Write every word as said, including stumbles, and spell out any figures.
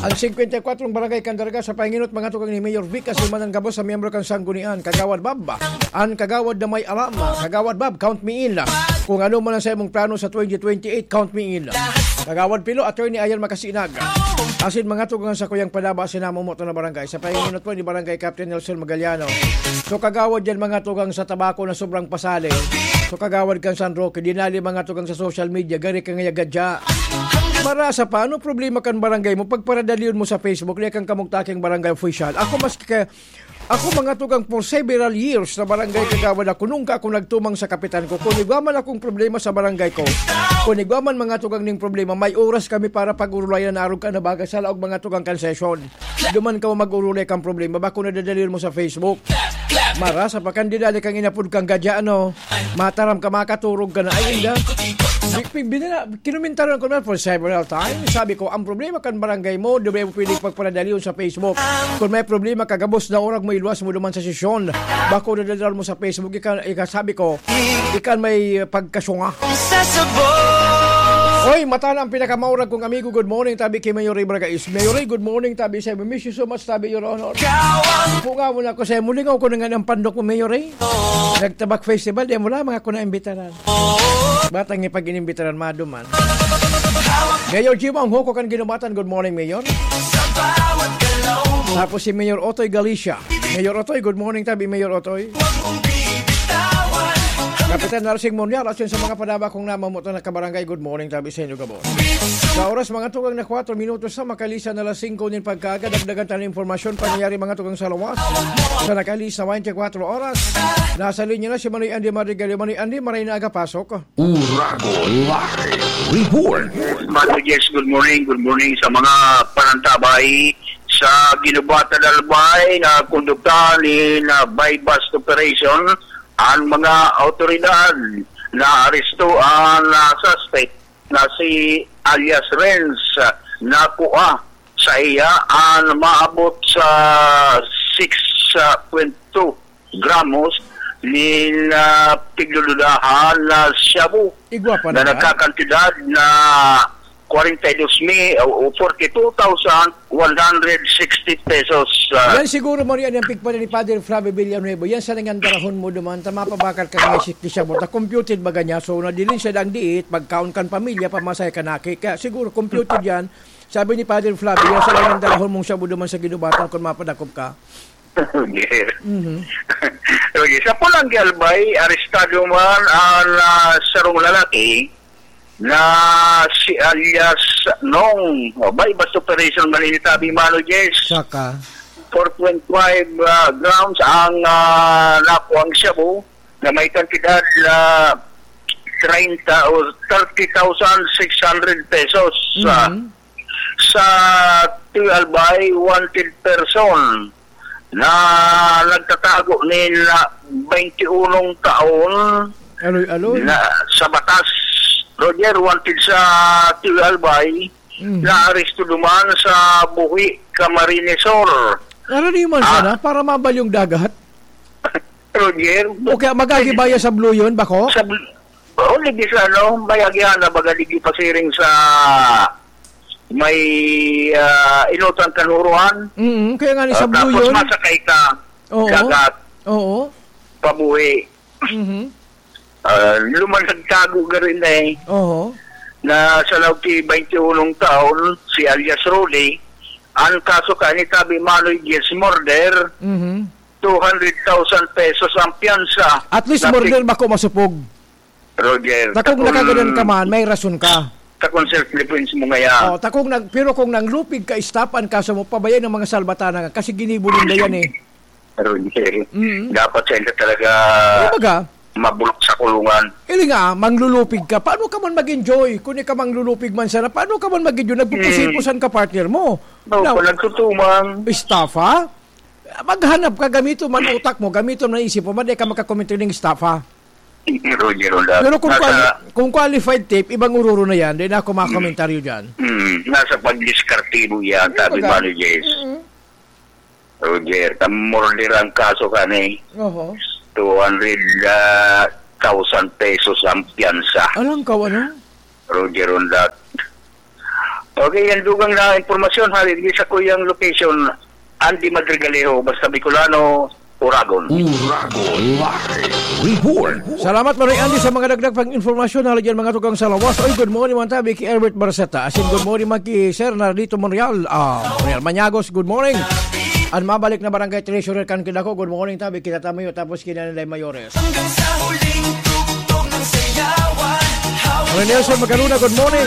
Ang singkwenta y kwatro barangay kan Daraga sa panginot, mga tugang ni Mayor Vic Asilman ang gabos sa miyembro kan Sanggunian, Kagawad Bab. An Kagawad na may alam, Kagawad Bab, count me in. Kung ano man ang saimong plano sa twenty twenty-eight, count me in. Kagawad Pilo, Attorney Ayan Makasinag. Asin mga tugang sa kuyang padaba, sinamomoto na barangay. Sa panginot po ni Barangay Captain Nelson Magaliano. So, kagawad yan, mga tugang sa tabako na sobrang pasali. So, kagawad kan San Roque, dinali, mga tugang sa social media, gari ka ngaya gadya. Marasa pa, ano problema kan barangay mo? Pagparadalion mo sa Facebook, di kang kamugtaking barangay official. Ako, maski ka, ako, mga tugang, for several years na barangay kagawad ako, nunca ako nagtumang sa kapitan ko. Kung igwa man akong problema sa barangay ko, kung igwa man, mga tugang, ning problema, may oras kami para pag-urulayan na arog ka na bagay sa laog, mga tugang, kan sesyon. Duman ka mag-urulay kang problema, bako nadadalion mo sa Facebook. Marasa pa kan dinali kang inapod kang gadya, ano? Mataram ka, makaturog ka na. Ay, inda. Bi-, bi-, binila-, kinumintaran ko na for several times. Sabi ko, ang problema kan barangay mo, di ba mo pwedeng pagparadalion sa Facebook? Kung may problema ka, gabos na oras mo iluwas mo duman sa sesyon. Bako nadadal mo sa Facebook, ika, ika, sabi ko, ikan may pagkasunga. Oy, mata na ang pinakamaurag kong amigo. Good morning, tabi kay Mayor Ray Bragais. Mayor Ray, good morning, tabi sa, "We miss you so much, tabi, Your Honor." Punga mo na ako sa, mulingaw ko na nga ng pandok mo, Mayor Ray. Nagtabak Festival, di mo lang mga ako na imbitaran. Batang ipag-inimbitaran, maduman. Mayor Jim, ang huko kan ginubatan. Good morning, Mayor. Tapos si Mayor Otoy Galicia. Mayor Otoy, good morning, tabi, Mayor Otoy. Kapitan Narsing Monyar, asin sa mga padaba kong namamoto na kabarangay, good morning, tabi sa inyo, gabos. Sa oras, mga tugang na kwatro minutos sa makalisa na alas singko nin pagkaaga, dagdagan tayo ng impormasyon, pangyayari, mga tugang sa lawas. Sa nakalisa twenty-four oras, nasa linya na si Manoy Andy Madrigal. Manoy Andy, maray na aga, pasok. Uragon Live Report. Manoy, yes, good morning. Good morning sa mga panantabay sa Ginubatan Albay na kondukta ni na buy-bust operation. Ang mga awtoridad na aresto ang, ah, suspect na si alias Renz, ah, nakua sa iya ang maabot sa six point two gramos nin, ah, pigdududahan na shabu Igwa pa na na ba? nagkakantidad na forty-two mi-, o, o forty-two thousand one hundred sixty pesos, ah. Yan siguro, Maria, ang pigpala ni Father Flavio Villanueva. Yan sa nangandarahon mo duman, ta mapabakal ka nga si, si shabu. Ta computed baga niya. So, nadilin siya dang diit, pagkaon kan pamilya, pamasay ka naki. Kaya siguro, computed yan. Sabi ni Father Flavio, yan sa nangandarahon mong shabu duman sa Ginubatan kung mapadakop ka. Okay. Mhm. Okay. Sa Polangui Albay, arestado man ang, ah, sarong lalaki na si alias Nong. O, buy-bust operation man ini, tabi, Mano Jess. Saka? Four point five, ah, grams ang, ah, nakuang shabu na may kantidad na treinta o thirty thousand six hundred pesos. Ah, Mhm. sa Albay, wanted person na nagtatago nin, ah, twenty-unong taon Aloy-aloy. na sa batas. Roger, wanted sa Albay, Mhm. na aresto duman sa Buhi, Camarines Sur. Ano ni man Ah. sana? Para mabalyong dagat? Roger. O kaya magagibaya sa Blue yun, bako? Sa Bl-, o, ligi sa ano, may agihan na baga ligi pasiring sa may, ah, inutang kanuruan. Mm, kaya nga ni sa Ah, Blue tapos yun. masakay ka, Oo. dagat, Oo. pabuhi. Mhm. Ah, luman nagtago ka rin eh. Oo. Na sa lawag ki twenty-unong taon, si alias Rudy, ang kaso ka ni tabi Manoy Jess murder, Mhm. two hundred thousand pesos ang piyansa. At least Na murder pi- bako masupog. Roger, Takong takong nakagadan ka man, may rason ka. Takong self-defense mo ngaya. Oh, takong nag-, pero kung nanglupig ka, stop ang kaso mo, pabayaan ng mga salbatana nga, kasi ginibo ninda yan eh. Roger, Mm. dapat sila talaga Kumbaga, mabulok sa kulungan. Ili nga, manglulupig ka. Paano ka man mag-enjoy? Kung ikaw manglulupig man sana, paano ka man mag-enjoy? Nagpupusipusan ka, partner mo. No, Now, kung nagtutumang. Estafa? Maghanap ka, gamito man utak mo, gamito man isip mo, maday ka makakomento ng estafa. Roger, wala. Pero kung, Nasa quali-, kung qualified tape, ibang ururo na yan. Di na ako makakomentaryo dyan. Mm, nasa pagdiskartibo yan, sabi Kumbaga, Mano Jess. Mm-mm. Roger, tam-, murder ang kaso ka ni. Oho. Two hundred, ah, thousand pesos ang piyansa. Alang ka, ano? Roger, on that. Okay, yan dugang na impormasyon, ha, di sa kuyang location, Andy Madrigalejo, basta Bicolano, Uragon. Uragon Live Report. Salamat, Maroy Andy, sa mga dagdag pang informasyon na dyan, mga tugang sa lawas. Oy, good morning, man tabi, ki Herbert Barceta. Asin, good morning, man ki Sir Nardito Monreal. Ah, Monreal Manyagos, good morning. An mabalik na barangay treasurer kan kidako, good morning, tabi, kita tamayo, tapos kinanilay mayores. Hanggang sa huling tugtog ng sayawan. Maroy Nelson Magaluna, good morning.